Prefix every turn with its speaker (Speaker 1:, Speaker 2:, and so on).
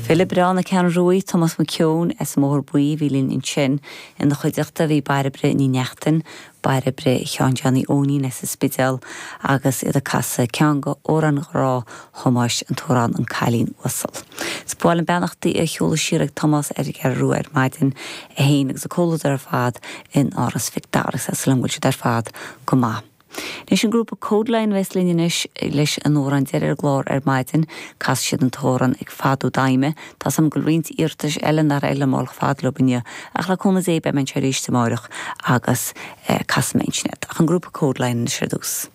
Speaker 1: File breá na Ceathrún Ruaidh, Tomás Mac Eoin as an mBóthar Buí a bhí linn ansin. Ina chuideachta bhí Bairbre Ní Neachtain, Bairbre Sheáin Johnny Eoinín as an Spidéal agus iad ag casadh ceann de amhráin ghrá Thomáis, an t-amhrán An Cailín Uasal. Is ba mhaith liom beannachtaí a sheoladh siar ag Tomás ar an gCeathrú Rua ar maidin, é féin agus a comhluadar ar fad in Áras Mhic Dara agus tá súil agam go bhfuil siad ar fad go maith. Anois an grúpa Kodaline a bheas linn anois leis an amhrán deiridh ar an gclár ar maidin. Casfaidh siad an t-amhrán Ag Fadú d'Aidhme. Tá 's agam go bhfuil roinnt iarratais eile nár éirigh liom a dhul chomh fada leo inniu ach le cúnamh Dé beidh mé anseo arís amáireach agus casfaidh mé ansin iad. Ach an grúpa Kodaline anois ar dtús.